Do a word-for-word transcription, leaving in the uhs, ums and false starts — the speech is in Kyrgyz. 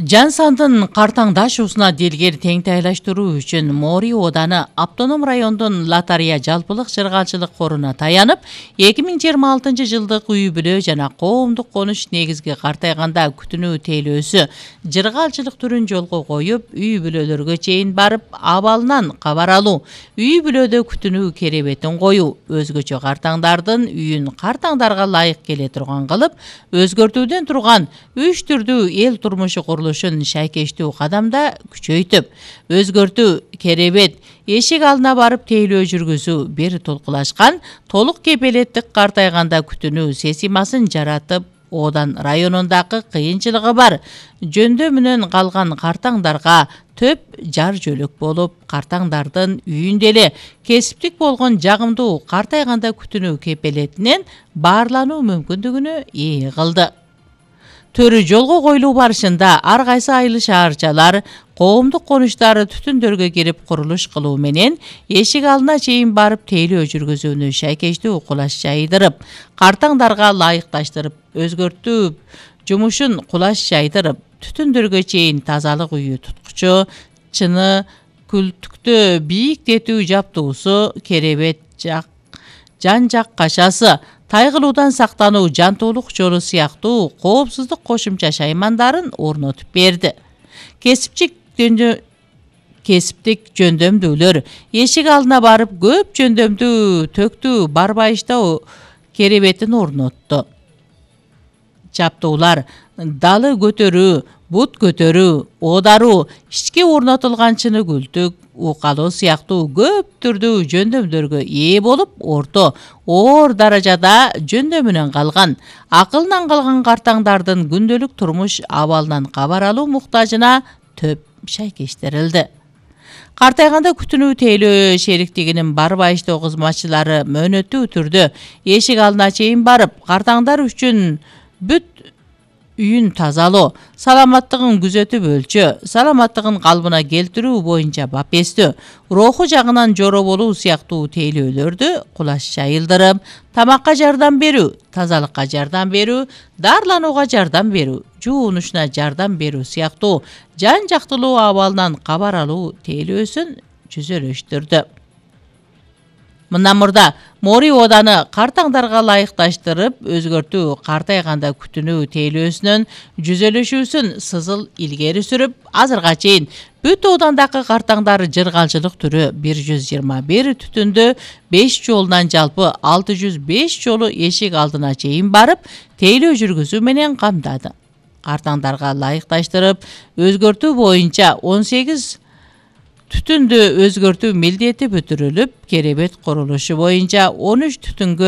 Жан сандын картаңдашуусуна дилгер теңтайлаштыруу үчүн Мори ооданы автоном райондун Латария жалпылык чыргалчылык коруна таянып, эки миң жыйырма алтынчы жылдык үй бүлө жана коомдук конуш негизги картайганда күтүнүү тейлөөсү чыргалчылык түрүн жолго коюп, үй бүлөлөргө чейин барып, абалынан кабар алуу, үй бүлөдө күтүнүү керебетин коюу, өзгөчө картаңдардын үйүн картаңдарга ылайык келе турган кылып, өзгөртүүдөн турган үч түрдүү эл турмушу курулушун шайкештүү кадамда күчөйтүп, өзгөртүү, керебет, эшик алдына барып тейлөө жүргүзүү бир толкулашкан толук кепилеттик картайганда күтүнүү системасын жаратып, Одан районундагы кыйынчылыгы бар жөндөмүнөн калган картаңдарга төп жар жөлөк болуп, картаңдардын үйүндө эле кесиптик болгон жагымдуу картайганда күтүнүү кепилетинен баарлануу мүмкүндүгүнө ээ кылды. Төрү жолго коюлуу барышында ар кайсы айыл шаарчалар коомдук конуштары түтүндөргө кирип курулуш кылуу менен эшик алдына чейин барып тейлөө жүргүзүүнү шайкештүү кулаш жайдырып, картаңдарга ылайыкташтырып, өзгөртүп, жумушун кулаш жайдырып, түтүндөргө чейин тазалык үйү туткучу, чыны, күлтүктө бийиктетүү жаптуусу, керебет жак, жан жак кашасы, тайгылуудан сактануу жантуулук жолу сыяктуу коопсуздук кошумча шаймандарын орнотуп берди. Кесипчик жөндө кесиптик жөндөмдүүлөр эшик алдына барып көп жөндөмдүү төктүү барбайыштоо керебетин орнотту. Жаптуулар далы көтөрүү, бут көтөрүү, оодаруу, ички орнотулган чыны күлтүк, укалоо сыяктуу көп түрдүү жөндөмдөргө ээ болуп, орто, оор даражада жөндөмүнөн калган, акылынан калган картаңдардын күндөлүк турмуш абалынан кабар алуу муктажына төп шайкештирилди. Картайганда күтүнүү тейлөө шериктигинин барбайыштоо кызматчылары мөөнөттүү түрдө эшик алдына чейин барып, картаңдар үчүн бүт үйүн тазалоо, саламаттыгын күзөтүп өлчө, саламаттыгын калыбына келтирүү боюнча бапестөө, руху жагынан жоро болуу сыяктуу тейлөөлөрдү кулаш жайылдырып, тамакка жардам берүү, тазалыкка жардам берүү, даарыланууга жардам берүү, жуунушуна жардам берүү сыяктуу жан жактылуу абалынан кабар алуу тейлөөсүн жүзөлөштүрдү. Мындан мурда Мори ооданы картаңдарга ылайыкташтырып, өзгөртүү картайганда күтүнүү тейлөөсүнүн жүзөлөшүүсүн сызыл илгери сүрүп, азырга чейин бүт оодандагы картаңдар жыргалчылык түрү бир жүз жыйырма бир түтүндө беш жолунан жалпы алты жүз беш жолу эшик алдына чейин барып, тейлөө жүргүзүү менен камдады. Картаңдарга ылайыкташтырып, өзгөртүү боюнча он сегиз түтүндү өзгөртүү милдети бүтүрүлүп, керебет курулушу боюнча он үч түтүнгө